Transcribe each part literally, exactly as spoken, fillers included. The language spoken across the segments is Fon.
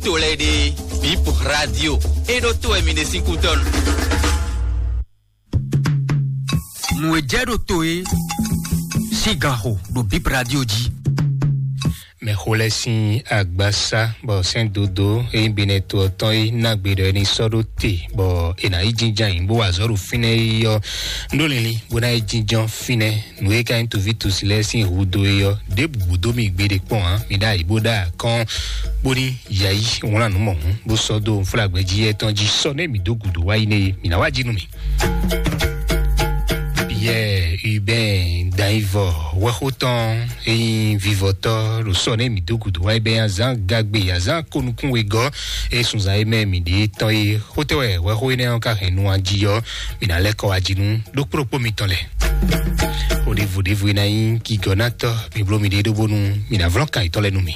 To lɛ́ɛ ɖe, Bip Radio, é ɖó to wɛ mi ɖe sín kútɔ́nu. Nǔ e jɛ ɖo to é sín gan xo ɖo Bip Radio jí. Mɛxó lɛ́ɛ sín agbasá bɔ sɛ́n dodó e nyí Benɛto ɔ́ tɔn é ná gbe ɖɔ é ní sɔ́ ɖó te, bɔ è nǎ yi jínjɔ́n ayǐ bó wa azɔ̌ ɖo fínɛ́ é ɔ́, un ɖó linlin bó ná yi jínjɔ́n fínɛ́. Nǔ e ka nyí toví tosi lɛ́ɛ sín hudó é ɔ́, ɖěbǔ bú dó mì gbeɖé kpɔ́n ǎ. Mi ɖó ayǐ bó ɖó akɔ́n, bó ní yayi wlán nǔ mɔ̌hun, bó sɔ́ dó nflágbɛ́ jí yɛ́ tɔn jí sɔ́ nɛ́ mǐ dó gǔdo wá yi nɛ́ é, mǐ ná wá jí nú mì. Pierre Hubert Daivɔ wɛxó tɔn e nyí vivɔtɔ́ ɖo sɔ́ nɛ́ mǐ dó gǔdo wá yi bɛ́ azán gagbe azán konukún wegɔ́ e sunzan e mɛ mǐ ɖe tɔn é. Xótɛ́ wɛ wɛxó énɛ́ ɔ́ ka hɛn nu ají ɔ́, mǐ ná lɛ́ kɔ wá jí nú ɖokpó ɖokpó mitɔn lɛ́ɛ. Oɖevo ɖevo e ná nyí gigɔnátɔ́, mi bló miɖée ɖó bónú mi ná vlɔ́n kan yětɔn lɛ́ɛ nú mì.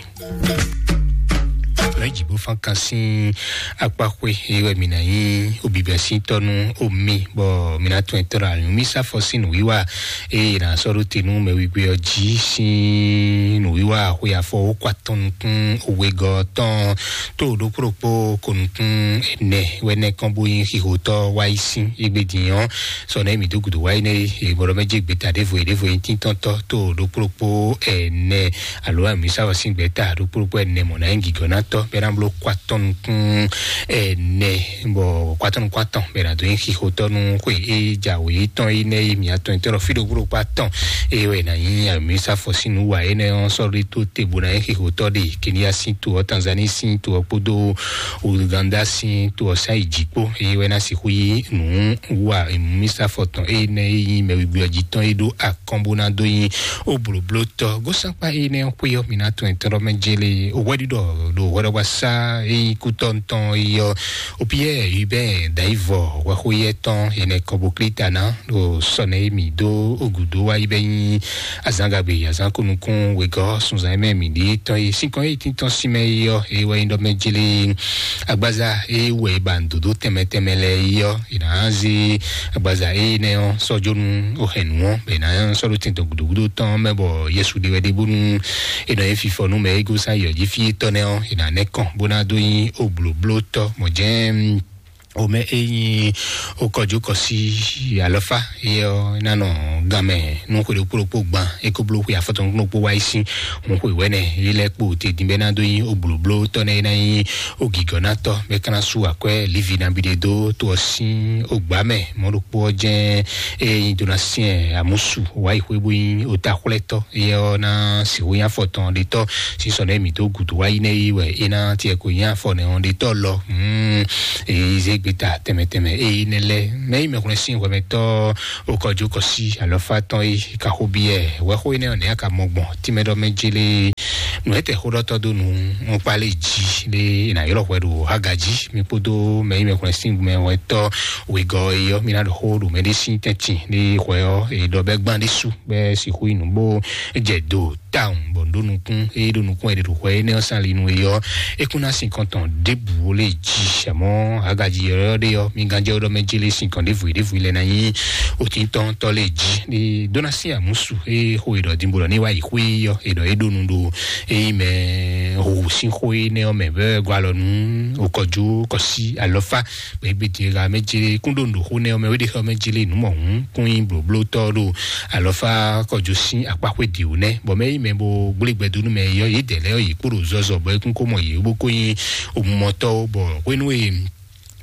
Lɔ̌nyijǐ bó fán kan sín akpáxwé, é wɛ mǐ ná nyí obibɛsíntɔ́ nú omi, bɔ mǐ ná tún ɛtɔ́ ɖo anyǔmísá fɔ sín nǔwiwa, eye è nǎ sɔ́ ɖó te nú mɛwígbé ɔ́ jí sín nǔwiwa xwe afɔ wǒ kɔ atɔn nukún wegɔ́ tɔn. Tó ɖokpó ɖokpó ko nukún ɛnɛ wɛ nɛ́ kɔn bó nyí xixotɔ́ wá yi sín égbé din ɔ́, sɔ nɛ́ mǐ dó gǔdo wá yi nɛ́ é, bɔ ɖɔ mɛ jɛ gbeta ɖěvo e ɖěvo e nyí tíntɔ́ntɔ́ tó ɖokpó ɖokpó ɛnɛ, alo amǐsá wɔ sín gbɛta ɖokpó ɖokpó ɛnɛ mɔ̌ ná nyí gǐgɔ́nátɔ́ bɔ é ná bló kɔ atɔn nukún ɛnɛ, bɔ kɔ atɔn nukún atɔn bɔ é ná dó nyí xixotɔ́ nú xwe e jǎwe tɔn é nɛ́ é mǐ atɔn nyitɔ́ ɖɔ fí ɖokpó ɖokpó atɔn, é wɛ è nǎ nyí amǐsá fɔ sín nǔ wa énɛ́ ɔ́ sɔ́ ɖé tó te bó ná nyí xixotɔ́ ɖe Kenya sín to ɔ́, Tanzanie sín to ɔ́ kpódó Uganda sín to ɔ́ sá yi jǐ kpó, é wɛ ná sixú yí nǔ wa amǐsá fɔ tɔn énɛ́ é nyí mɛwígbé ɔ́ jí tɔn é ɖó akɔ́n bó ná dó nyí ó blǒbló tɔ́. Gósánkpá énɛ́ ɔ́ xwé ɔ́, mi ná tunwun ɛtɔ́ ɖɔ mɛ jélé hwɛɖiɖɔ ɖo hwɛɖɔgbasá e nyí kútɔ́ tɔn é ɔ́, Opiyɛ́ɛ Hubɛ́ɛ Dayivɔ hwɛxóyɛ́ tɔn, enɛ kɔboklítana ɖo sɔ́nɛ e mǐ dó gǔdo wá yi bɛ́ nyí azǎngagbe azǎn kúnukún wegɔ́ sunzan e mɛ mǐ ɖíe tɔn e sín kɔn e tíntɔ́n sín mɛ é ɔ́, é wɛ nyí ɖɔ mɛ jélé agbaza e wɛ è ba nǔ dó tɛnmɛ tɛnmɛ lɛ́ɛ é ɔ́, è nǎ zé agbaza énɛ́ ɔ́ sɔ́ jó nú ohɛ̌nnu ɔ́, bɔ è nǎ sɔ́ ɖó tɛn tɔn gǔdo gúdo tɔn mɛ, bɔ Yesu ɖe wɛ ɖe bónú è nɔ nyí fifɔ nú mɛ e gosín ayǐ ɔ́ jí fí étɔ́ nɛ́ ɔ́, è nǎ nɛ́ kɔn bó ná dó nyí oblǒblótɔ́. Mɔ̌ jɛ́n omɛ e nyí okɔjúkɔsí alɔfá é ɔ́ ná nɔ ganmɛ nú xwe ɖokpó ɖokpó gban, é ko bló xwe afɔtɔn ɖokpó wá yi sín hun xwe wɛ̌nɛ é lɛ́ɛ kpo te din bɛ́ ná dó nyí oblǒblótɔ́ nɛ́ é ná nyí ogǐgɔ́nátɔ́, bɔ é ka ná sú akwɛ́ Livi nabí ɖé dó to ɔ́ sín ogbǎ mɛ. Mɔ̌ ɖokpó ɔ́ jɛ́n é nyí dó ná syɛ́n amǔsu wá yi xwé bó nyí otaxwlɛ́tɔ́, é ɔ́ ná sixú nyí afɔtɔn ɖetɔ́ sín sɔ́ nɛ́ mǐ dó gǔdo wá yi nɛ́ é wɛ é ná tiɛ ko nyí afɔ nɛ́ ɔ́ ɖetɔ́ lɔ. Hmm, èyí zé gbeta tɛnmɛ tɛnmɛ èyí nɛ́ lɛ́ɛ. Mɛ yi mɛhwlɛ́n sín hwɛmɛtɔ́ okɔjúkɔsí alɔfá tɔn é ka xó byɔ́ ɛ wɛxó énɛ́ ɔ́ nɛ́ a ka mɔ gbɔn tínmɛ ɖɔ mɛ jélé nǔ e tɛ xóɖɔtɔ́ dó nú nukpálé jí lé è nǎ ylɔ́ hwɛ ɖo Haga jí. Mi kpódó mɛ yi mɛhwlɛ́n sín mɛ hwɛtɔ́ wegɔ́ é ɔ́, mi ná ɖo xó ɖo mɛ ɖé sín tɛ́ntin lé hwɛ ɔ́, è ɖɔ bɛ́ gbán ɖésú bɛ́ sixú yi nǔ bó jɛ do tawun bɔ ɖó nukún, eye ɖó nukún ɛ ɖe ɖo hwɛ énɛ́ ɔ́ sín ali nu é ɔ́, é kún ná sin kɔn tɔn ɖěbǔ lé jí. Àmọ́ Haga jí ɔ́ ɖe ɔ́, mi gán jẹ́ ɔ́ ɖɔ mɛ jí lé sin kɔn ɖěvo ɖěvo lɛ ná nyí òtíntɔ́ntɔ́ lé jí. Ní dó ná sín àmúsu é xo è ɖɔ dínbó ɖɔ ní wá yi xwé ɔ́, è ɖɔ é ɖó nu ɖo é mɛ hǔhù sín xó énɛ́ ɔ́ mɛ bɛ́ gɔ́ alɔ nú okɔjú kɔsí alɔfá. Bɔ é gbe din e ha mɛ jɛ kún ɖo nǔɖoxó nɛ ɔ́ mɛ wé ɖe xɔ mɛ jɛ lé nǔ mɔ hǔn kún nyí blǒblótɔ́ ɖo alɔfá kɔjó sín akpáxwé dǐwú nɛ́, bɔ mɛ yí mɛ bo gblé gbɛdó nú mɛ yɔ yědɛɛ lɛ́ɛ yě kpo ɖo zɔzɔ bɔ é kún kó mɔ yě bó kó nyí omumɔtɔ́, bɔ hwénú e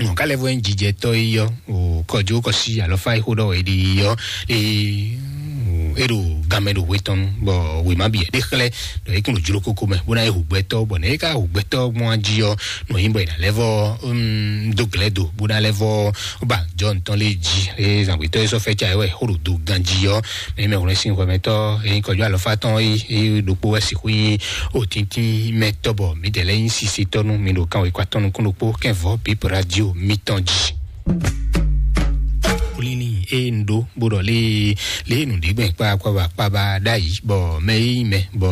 nɔ ká lɛ́ vɔ nyí jijɛtɔ́ é yɔ o kɔjó kɔsí alɔfá e xó ɖɔ wɛ é ɖi yɔ é é ɖo ganmɛ ɖo hwe tɔn nu, bɔ wěma bǐ ɖe xlɛ́ ɖɔ é kún ɖo jló kókó mɛ bó ná yi hu gbɛtɔ́, bɔ nɛ̌ é ka hu gbɛtɔ́ gbɔn jí ɔ́, nɔ nyí bɔ è nǎ lɛ́ vɔ dó glɛ̌ do bó ná lɛ́ vɔ ba jɔ ntɔn lé jí. Eye zǎngbetɔ́ e sɔ́ fɛ́ ca é wɛ xó ɖo do ganjí ɔ́, mɛ mɛ wlɛ́ sín hwɛmɛtɔ́ e nyí kɔjú alɔfá tɔn é é ɖokpó wɛ sixú nyí òtíntín mɛ tɔ́, bɔ mǐdɛɛ lɛ́ɛ nyí sisetɔ́ nú mi ɖo kanwekɔ atɔn nukún ɖokpó kɛnvɔ́ bíp radio mitɔn jí. Olini e un ɖó bó ɖɔ lé lé nǔɖigbɛn kpákpábá kpábá ɖ'ayǐ, bɔ mɛ e nyí mɛ bɔ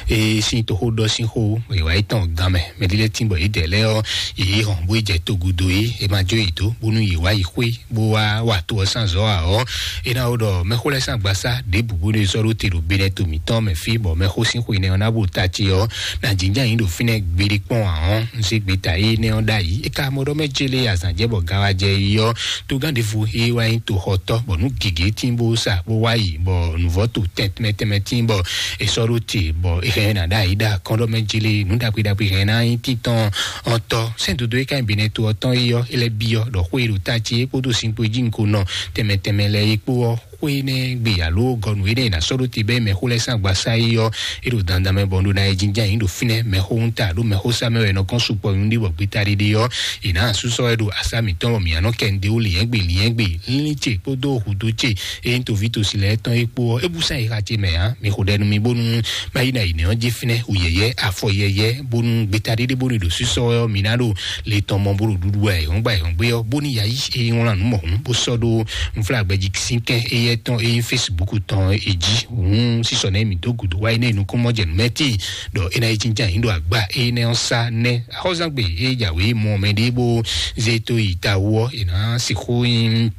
é sín toxó ɖɔ sín xó, è wǎ yi tɔn gan mɛ, mɛ ɖé lɛ́ɛ tín bɔ yě dɛ lɛ́ɛ ɔ́, yě yi hɔn bó yi jɛ togudo é, è ma jó yě dó bónú yě wá yi xwé bó wá wa to ɔ́ sín azɔ̌ ǎ ɔ́, é ná wó ɖɔ mɛxó lɛ́ɛ sín agbasá ɖěbǔ bó ɖo sɔ́ ɖó te ɖo Benɛto mǐtɔn mɛ fí, bɔ mɛxó sín xwe nɛ ɔ́ ná bo ta ce ɔ́, ná jínján yín ɖo fínɛ́ gbeɖé kpɔ́n ǎ ɔ́, un zé gbeta énɛ́ ɔ́ ɖ'ayǐ. É ka mɔ ɖɔ mɛ jélé azǎn jɛ bɔ gan wá jɛ yi ɔ́, togán ɖěvo é wá nyí toxɔtɔ́, bɔ nǔ gěgé tín bó sa bó wá yi, bɔ nǔvɔ́ to tɛnmɛ tɛnmɛ tín bɔ è sɔ́ ɖó te, bɔ è hɛn ná ɖ'ayǐ ɖo akɔ́nɖɔmɛ jélé nǔ ɖagbe ɖagbe hɛn ná nyí títɔn ɔ́ tɔ́. Sɛ́n dodó é ka nyí Benɛto ɔ́ tɔn é ɔ́, é lɛ́ byɔ́ ɖɔ xwé e ɖo ta ce é kpódó sin kpo e jí un ko nɔ tɛnmɛ tɛnmɛ lɛ́ɛ é kpó ɔ́, xwé énɛ́ gbe alo gɔnu énɛ́ è nǎ sɔ́ ɖó te bɛ́ mɛ xó lɛ́ɛ sín agbasá é ɔ́, é ɖo dandan mɛ bɔ un ɖó ná yi jínján yǐ ɖo fínɛ́. Mɛxóhúntà ɖó mɛxósá mɛ wɛ è nɔ kɔn sukpɔ nyuɖé bɔ gbeta ɖiɖi ɔ́, è nǎ súsɔ wɛ ɖo asá mǐtɔn bɔ mǐ nɔ kɛ un ɖe wó lǐnyɛ́gbe lǐnyɛ́gbe línlín ce kpódó hǔdú ce, eye un toví tosi lɛ́ɛ tɔn é kpó ɔ́, é bú sán yi xa ce mɛ ǎ. Mi xo ɖɛ nú mi bónú má yi ná yi nɛ̌ ɔ́ jí fínɛ́, wǔ yɛ́yɛ́, afɔ yɛ́yɛ́, bónú gbeta ɖiɖi bónú ɖo sísɔ ɔ́, mi ná ɖo le tɔn mɔ bó ɖo ɖuɖu ayǐhɔ́ngbe ayǐhɔ́ngbe ɔ́, bónú yǎ yí é wlán nǔ mɔ̌hun bó sɔ́ ɖó nflágbɛ́ jí sínkɛ́n éyɛ́ tɔn é nyí Facebook tɔn é jí. Hǔn sísɔ nɛ́ mǐ dó gǔdo wá énɛ́ nukúnmɔjɛnǔmɛtí ɖɔ é ná yi jínján yǐ ɖo agba énɛ́ ɔ́ sá nɛ́. Axɔ́zángbè é jǎwe mɔ mɛɖé bó zé tó yi ta wú ɔ́, è nǎ sixú nyí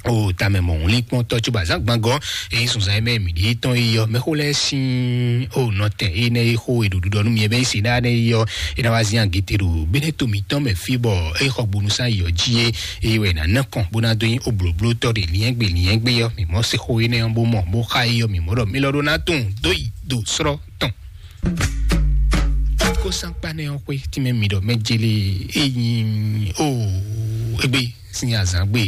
o tamɛ mɔ wlí kpɔn tɔ tso bazán gbangɔ, eyi sunzan mɛ mi ɖi tɔn yi yɔ mɛxó lɛ sin o nɔtɛn eyi nɛ yi xo eɖo ɖuɖɔ nu mi bɛ si na ne yi yɔ ena wa zin agete ɖo bene to mi tɔn mɛ fi bɔ eyi xɔ gbonu san yɔ ji ye eyi wɛ na nɛ kɔn bona do yin o bloblo tɔ de liɛngbe liɛngbe yɔ mi mɔ se xo yi nɛ bó mɔ bó xa yi yɔ mi mɔ ɖɔ mi lɔ ɖo na tun do yi do srɔ tɔn. Ko sankpa nɛ ɔn xwe ti mɛ mi ɖɔ mɛ jeli eyi o egbe sin azǎn gbe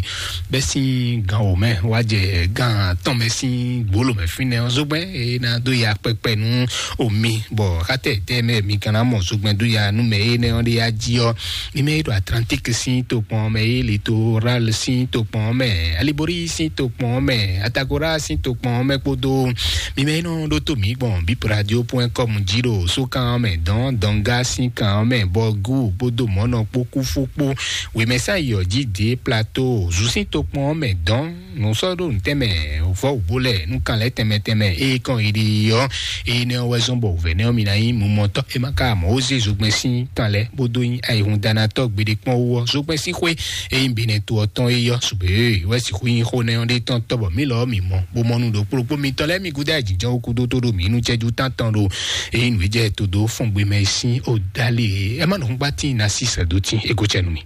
bɛ́ sín gan wǒ mɛ wá jɛ gan atɔn mɛ sín gbolo mɛ fínɛ́ ɔ́, zogbɛ́n e ná dó ya kpɛkpɛ nú omi, bɔ xátɛ tɛ mɛ mi kan ná mɔ zogbɛ́n dó ya nú mɛ énɛ́ ɔ́ ɖe ya jí ɔ́. Mi mɛ e ɖo Atlantique sín tokpɔn mɛ, e Litoral sín tokpɔn mɛ, Alibori sín tokpɔn mɛ, Atagora sín tokpɔn mɛ kpódó mi mɛ e nɔ ɖó tó mǐ gbɔn bipradio.com jí ɖo sókan mɛ dɔn dɔnga sín kan mɛ, bɔ gu kpódó mɔnɔ kpó kúfú kpó wěmɛsá yɔ jí dé plateau zu sín tokpɔn mɛ dɔn nǔsɔ́ɖó ntɛnmɛ vɔ́ wǔbó lɛ nú kan lɛ́ tɛnmɛ tɛnmɛ eye kɔn yi ɖi ɔ́, eye nɛ ɔ́ wɛ zɔ́n bɔ wǔvɛ́ nɛ́ ɔ́ mi ná nyí mumɔtɔ́ e ma ka mɔ ó zé zogbɛ́n sín kan lɛ́ bó dó nyí ayihundanatɔ́ gbeɖé kpɔ́n wú ɔ́, zogbɛ́n sín xwé e nyí binɛ to ɔ́ tɔn é yɔ́ sugbe e wɛ sixú nyí xó nɛ́ ɔ́ ɖe tɔn tɔ́ bɔ mǐ lɔ ɔ́ mǐ mɔ bó mɔ nú ɖokplokpó mitɔn lɛ́ɛ mi gúdo ayǐjínjɔ́n wú kúdó tó ɖo mǐ nú cɛ́jú tántɔn ɖo e nyí nǔ e jɛ todo fɔ́ngbemɛ sín ó dálé. Ɛ má nɔ gbá tín ná sí sɛ̌dó tín é gó cɛ nú mi.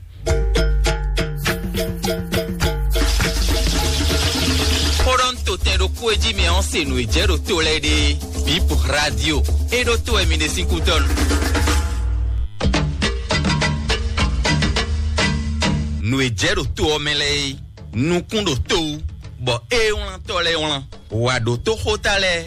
Xó ɖɔ ń to tɛn ɖokpó e jí mi ɔ́ se nǔ e jɛ ɖo to lɛ́ɛ ɖe. Bip Radio. E ɖo to wɛ mi ɖe sín kútɔ́ nu. Nǔ e jɛ ɖo to ɔ́ mɛ lɛ́ɛ é, nukún ɖo to wú, bɔ é wlán tɔ lɛ́ɛ wlán. Wǎ ɖó tó xóta lɛ́ɛ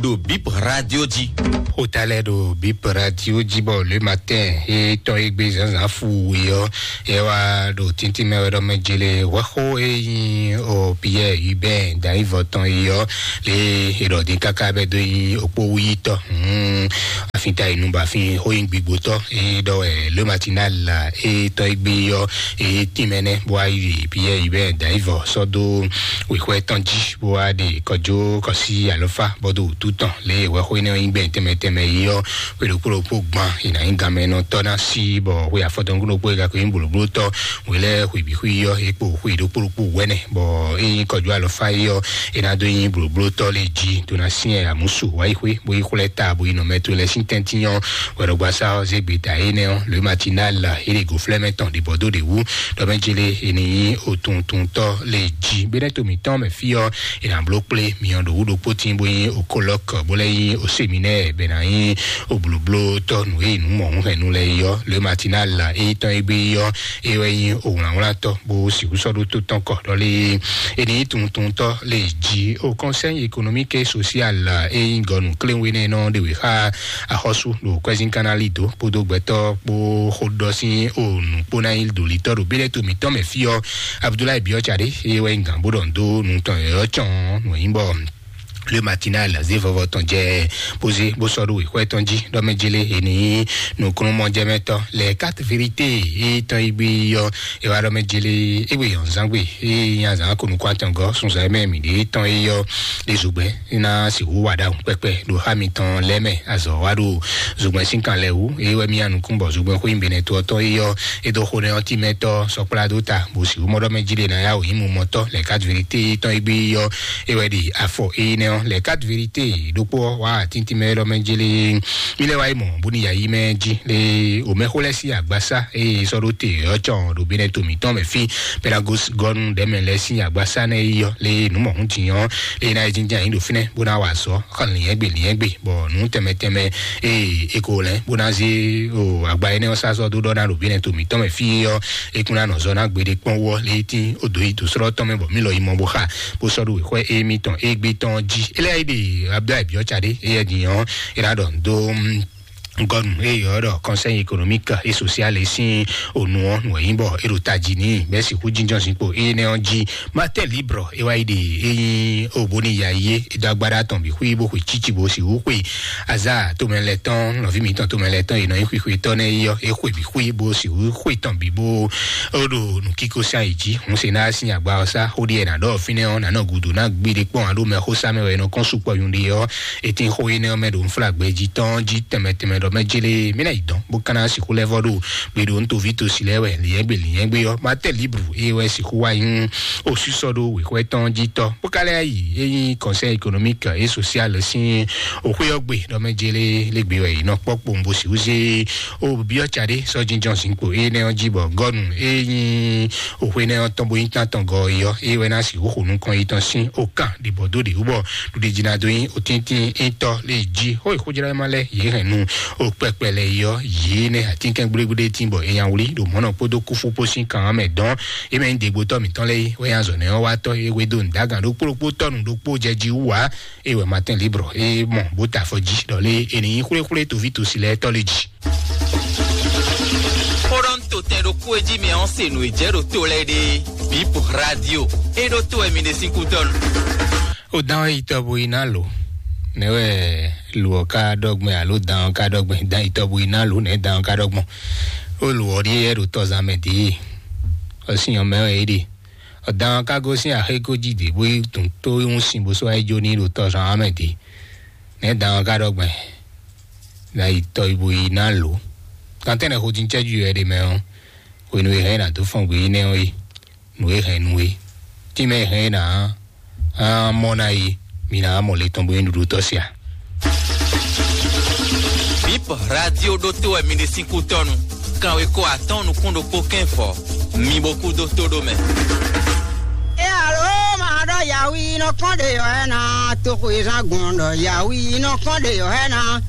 ɖo Bip Radio jí. Xóta lɛ́ɛ ɖo Bip Radio jí bɔ le matin e tɔn e gbé zǎnzǎn fu we ɔ́, e wá ɖo tíntín mɛ wɛ ɖɔ mɛ jele wɛxó e nyí o Pierre Hubert Daivɔ tɔn e ɔ́, le e ɖɔ dín káká bɛ dó nyí okpó wúyítɔ́. Hmm, afin ta inú ba fin xó nyí gbigbotɔ́ e ɖɔ wɛ le matinal e tɔn e gbé ɔ́, e tínmɛ nɛ́ bó wá yi Pierre Hubert Daivɔ sɔ́ dó wěxwɛ́ tɔn jí bó wá ɖe kɔjó kɔsí alɔfá bɔdó wútu tɔn lě e wɛxó énɛ́ ɔ́ nyí gbɛn tɛnmɛ tɛnmɛ yi ɔ́, xwe ɖokpó ɖokpó gban è nǎ nyí ganmɛnɔtɔ́ ná sí bɔ xwe afɔtɔn ɖokpó e gako nyí blǒblótɔ́ wě lɛ́ɛ xwe bǐ xwe yi ɔ́ é kpo xwe ɖokpó ɖokpó wɛnɛ bɔ é nyí kɔjó alɔfá yi ɔ́ é ná dó nyí blǒblótɔ́ lě jí tó ná syɛ́n amǔsu wá yi xwé bó yi xwlɛ́ ta bó yi nɔ mɛ to lɛ́ɛ sín tɛ́ntin ɔ́. Wɛɖɔgbasá ɔ́ zé gbeta énɛ́ ɔ́ le matinal é ɖe gǒflɛ́mɛ tɔn ɖibɔdó ɖě wú ɖɔ mɛ jele è nǐ nyí otuntuntɔ́ lě jí. Bɛ́nɛ́ to mǐtɔn mɛ fí ɔ́, è nǎ bló kplé myɔ ɖo wú ɖokpó tín bó nyí okolɔ́k bó lɛ́ nyí oseminɛ́ɛ bɛ ná nyí oblǒblótɔ́ nǔ e nǔ mɔ̌hunhɛnnu lɛ́ɛ yi ɔ́. Le matinal é tɔn é gbé yi ɔ́, é wɛ nyí owlǎnwlátɔ́ bó sixú sɔ́ ɖó tó tɔn kɔ ɖɔ lé è nǐ nyí tuntuntɔ́ lě jí. O Conseil économique et social é nyí gɔnu kléwénɛnɔ ɖe wě xá axɔ́sú ɖo kwɛ́zínkánná lido kpódó gbɛtɔ́ kpó xóɖɔ sín o nǔkpónáyí ɖo litɔ́ ɖo bílɛ́ to mǐtɔn mɛ fí ɔ́, Abudulayi Biɔ́ Tsadé, eye wɛ nyí gǎn bó ɖɔ nǔ dó nǔ tɔn yɔ̌yɔ́ cɔn nǔ nyí bɔ Le Matinal zé vɔvɔ tɔn jɛ bó zé bó sɔ́ ɖó wěxwɛ́ tɔn jí ɖɔ mɛ jélé è ní nǔkúnnú mɔjɛmɛtɔ́ lɛ quatre vérité yí tɔn yi gbé yɔ. E wá ɖɔ mɛ jélé égbé yɔn zán gbé yí nya zán ko nukún atɔngɔ sunzan mɛ mǐ ɖé tɔn yi yɔ. Ɖe zogbɛ́ ná sixú wa ɖahun kpɛkpɛ ɖo xá mitɔn lɛ́ mɛ azɔ̌ wá ɖo zogbɛ́ sín kan lɛ wú. Eye wɛ mía nukún bɔ zogbɛ́ xwé nyí benɛ to ɔtɔn yi yɔ. E dó xo nɛ ɔ́ tí mɛ tɔ́ sɔkplá dó ta bó sixú mɔ ɖɔ mɛ jélé ná yá wò nyí mumɔtɔ́ lɛ quatre vérité yí tɔn yi gbé yɔ. E wɛ ɖi afɔ eyinɛ ɔ́ lɛ quatre vérité ɖokpó ɔ́ wá tíntín mɛ ɖɔ mɛ jélé. Mi lɛ wá yi mɔ bóni yayí mɛ jí le omɛxó lɛ sí agbasa eye sɔ́ ɖó te ɔ́ cɔn ɖo benɛ to mǐtɔn mɛ fí. Pédagos gɔnu ɖɛmɛ lɛ sí agbasa nɛ yi yɔ le nǔmɔhún tinyɔ le ná yi jínjɛn anyi ɖo fínɛ bó ná wa sɔ xɔ liɛ́ngbè liɛ́ngbè bɔ nǔ tɛmɛ tɛmɛ eye eko lɛ bó ná zé o agba énɛ́ ɔ́ sá sɔ́ dó ɖɔ ná ɖo benɛ to mǐtɔn mɛ fí yɔ. Ekún ná nɔ zɔ ná gbeɖé kpɔ́n wɔ le tí o dǒ yi dǒ srɔ́ tɔn mɛ bɔ mí lɔ yi mɔ bó xa bó sɔ́ ɖo wěxwɛ́ émítɔn égbé tɔn jí. Eléyìí ɖe abdulayi biɔ tsa ɖé eyɛ din ɔ́ é ná ɖɔ dó gɔnu eye ɔ́ ɖɔ conseil économique et social sín ònu ɔ́ nù ɛ̀yìn bɔ é ɖo tají ní bɛ́ sixú jínjɔ́n zinkpo énɛ́ ɔ́ jí. Martin libre é wá yi ɖe eyín òbóni ya yé é dó agbára tɔn bǐ xwí bó xwe tsítsí bó sixú xwe azá tomɛ lɛ tɔn nɔví mǐtɔn tomɛ lɛ tɔn è nɔ nyí xwixwetɔ́ nɛ́ é ɔ́ é xwe bǐ xwí bó sixú xwe tɔn bǐ bó ó ɖo nǔkíkó sín ayǐ jí. Hǔn se ná sín agba ɔ́ sá xó ɖíe è nǎ ɖɔ fínɛ́ ɔ́ nǎ nɔ gudo ná gbí ɖé kpɔ́n alo mɛ xó sá mɛ wɛ è nɔ kɔn sukpɔ nyuɖe ɔ́. È tín xó énɛ́ ɔ́ mɛ ɖo nflágbɛ́ jí tɔn jí tɛnmɛ tɛnmɛ ɖɔ mɛ jélé mí ná yi dɔn bó ka ná sixú lɛ́ vɔ́ ɖo gbe ɖo ntoví tosi lɛ́ɛ wɛ lǐyɛ́gbé lǐyɛ́gbé ɔ́. Martin libre é wɛ sixú wá nyí òsísɔ ɖó wěxwɛ́ tɔn jí tɔn bó ka lɛ́ yi é nyí conseil économique et social sín òxwé ɔ́ gbe ɖɔ mɛ jélé lé gbe wɛ è nɔ kpɔ́ kpowun bó sixú zé ó biɔ tsa ɖé sɔ́ jínjɔ́n zinkpo énɛ́ ɔ́ jí bɔ gɔnu é nyí òxwé nɛ́ ɔ́ tɔn bó nyí tán tɔn gɔ é ɔ́ é wɛ ná sixú xo nukɔn yi tɔn sín ó kan ɖibɔ dó ɖě wú bɔ ɖuɖi jina dó nyí òtíntín étɔ́ lé jí xó ìxójúlá ma lɛ yě hɛn nu ó kpɛkpɛ lɛ yɔ yě nɛ atínkɛn gblégblétín bɔ èèyàn wlí ɖo mɔ̌nà kpódó kúfú kpó sín kan mɛ dɔn. É mɛ nyí dégbótɔ́ mǐtɔn lɛ́ɛ é wɛ nyí azɔ̌ nɛ́ ɔ́ wá tɔ́ é wé dó nǔdágan ɖokpó ɖokpó tɔ́ nǔ ɖokpó jɛ jí wú ǎ. É wɛ Martin libre é mɔ bó ta afɔ jí ɖɔ lé è ní nyí xwléxwlé toví tosi lɛ́ɛ tɔ́ lé jí. Xó ɖɔ ń to tɛn ɖokpó e jí mɛ ɔ́ se nǔ e jɛ ɖo to lɛ́ɛ ɖe. Bip radio é ɖó to wɛ mi ɖe sín kútɔ́nu. Ó dán yi tɔbu yi ná lò. Nɛ wɛ lò ɔ́ ká ɖɔgbɛn alo dán ɔ́ ká ɖɔgbɛn dán yi tɔbu yi ná lò nɛ dán ɔ́ ká ɖɔgbɔn. Ó lò ɔ́ ɖíe yɛ ɖo tɔzán mɛ dě. Ɔ́ sín ɔ́ mɛ wɛ é ɖe. Ɔ́ dán ɔ́ ká gosín axéko jí dě bó yi tún tó yi hún sin bó sɔ́ wá yi jó ní ɖo tɔzán ɔ́ mɛ dě. Nɛ dán ɔ́ ká ɖɔgbɛn. Na yi tɔbu yi ná lò. Kan tɛ́nɛ xo dín cɛ́jú yɔ ɛ ɖe mɛ ɔ́. Hwenu e hɛn ná dó fɔn gbé yi nɛ ɔ́ yi. Nǔ e hɛn nú we. Tínmɛ e hɛn é ná á mɔ ná yi, mi ná mɔ le tɔn bó nyí ɖuɖu tɔ́ sia. Bip radio ɖótó wɛ mi ɖe sín kútɔ́nu. Kanwekó atɔ́ɔ́n nukún ɖokpó kɛ́n fɔ. Mi bo kú dó tó ɖó mɛ. E alo ma ɖɔ yawi nɔ kɔn ɖe yɔ ɛ na, toxo e zan gbɔn ɖɔ yawi nɔ kɔn ɖe yɔ ɛ na.